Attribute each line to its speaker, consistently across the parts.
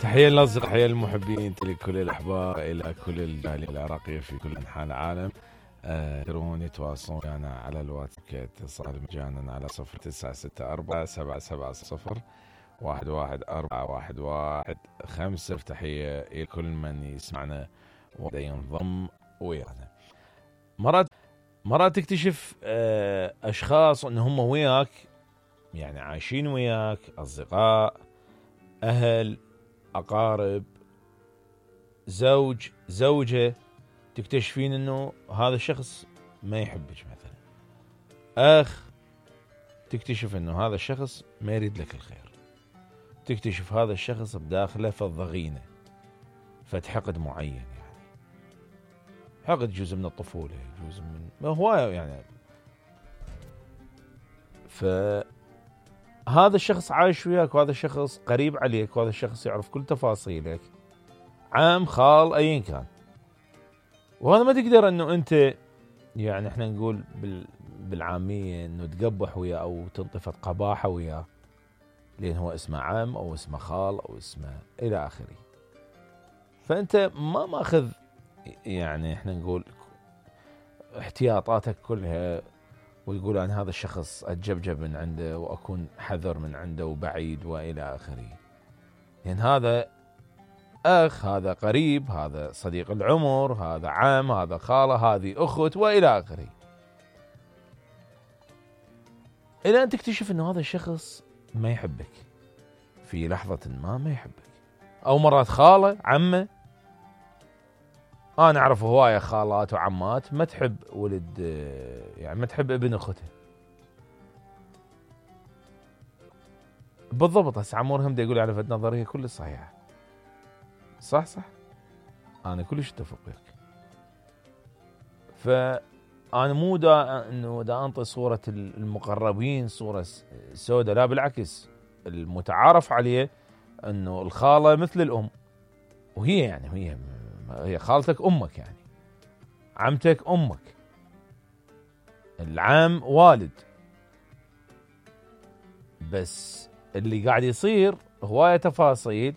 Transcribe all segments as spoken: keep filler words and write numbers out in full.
Speaker 1: تحية للأصدقاء، تحية للمحبين، لكل الأحباب، إلى كل الجالية العراقية في كل أنحاء العالم. يقدرون يتواصلون معنا على الواتساب كاتصال مجانا على صفر تسعة ستة أربعة سبعة سبعة صفر واحد واحد أربعة واحد واحد خمسة. تحية إلى كل من يسمعنا وينضم ويانا. مرات مرات تكتشف أشخاص أن هم وياك، يعني عايشين وياك، أصدقاء، أهل، أقارب، زوج، زوجة، تكتشفين أنه هذا الشخص ما يحبك مثلا. أخ، تكتشف أنه هذا الشخص ما يريد لك الخير. تكتشف هذا الشخص بداخله فالضغينة، فتحقد معين، يعني حقد جزء من الطفولة، جزء من ما هو يعني. فهذا الشخص عايش وياك، وهذا الشخص قريب عليك، وهذا الشخص يعرف كل تفاصيلك، عام، خال، أيا كان. وهذا ما تقدر أنه أنت، يعني احنا نقول بالعامية أنه تقبح وياه أو تنطفت قباحة وياه، لأن هو اسمه عام أو اسمه خال أو اسمه إلى آخره. فأنت ما ماخذ، يعني احنا نقول احتياطاتك كلها، ويقول أن هذا الشخص أتجبجب من عنده وأكون حذر من عنده وبعيد وإلى آخره. لأن هذا أخ، هذا قريب، هذا صديق العمر، هذا عام، هذا خالة، هذه أخت وإلى آخره. إلى أن تكتشف أنه هذا الشخص ما يحبك في لحظة ما ما يحبك. أو مرات خالة، عمة. أنا أعرف هواية خالات وعمات ما تحب ولد، يعني ما تحب ابن أختها. بالضبط. هسه عمورهم دا يقول على فد نظرية كل صحيحة. صح صح، أنا كلش اتفق وياك. فأنا مو دا إنه دا أنطي صورة المقربين صورة سوداء، لا بالعكس. المتعارف عليه إنه الخالة مثل الأم، وهي يعني هي هي خالتك أمك، يعني عمتك أمك، العام والد. بس اللي قاعد يصير هواية تفاصيل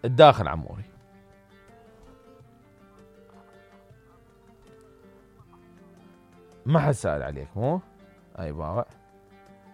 Speaker 1: الداخل عموري. ما حد سأل عليك، مو؟ أي بابا.